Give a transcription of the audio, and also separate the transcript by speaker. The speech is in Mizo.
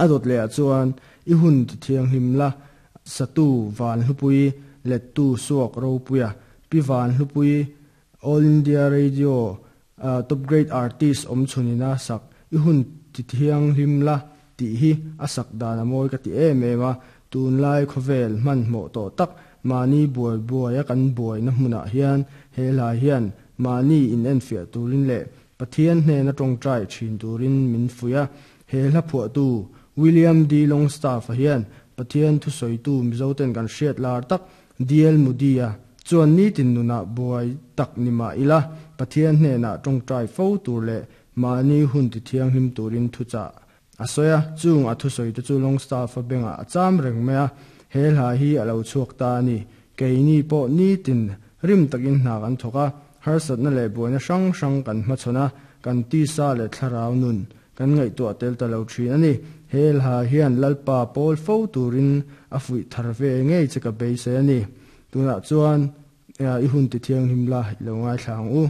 Speaker 1: A dawt leh ah chuan i hun ti thianghlim la satu Van Hlupui lettu Suak Ropuia Pi Van Hlupui All India Radio Top Grade Artist awm chhunina sak i hun ti thianghlim la tih hi a sak dan a mawi ka ti em em a, tunlai khawvel hmanhmawh tawh tak mahni buai buaia kan buaina hmunah hian he hla hian mahni inenfiah turin leh Pathian hnena tawngtai thin turin min fuih a, he hla phuahtu William D. Longstaff-a hian Pathian thusawitu Mizoten kan hriat lar tak DL Moody-a chuan nitin nunah buai tak ni mah ila Pathian hnenah tawngtai fo tur leh mahni hun ti thianghlim turin thuchah a sawi a, chung a thusawi te chu Longstaff-a bengah a cham reng mai a, he hla hi a lo chhuak ta a ni. Keini pawh nitin rim takin hna kan thawk a, harsatna leh buaina hrang hrang kan hmachhawn a, kan tisa leh thlarau nun kan ngaihtuah tel ta lo thin a ni. He hla hian Lalpa pawl fo turin a fuih thar ve ngei che ka beisei a ni. Tunah chuan i hun ti thianghlim la i lo ngaithla ang u.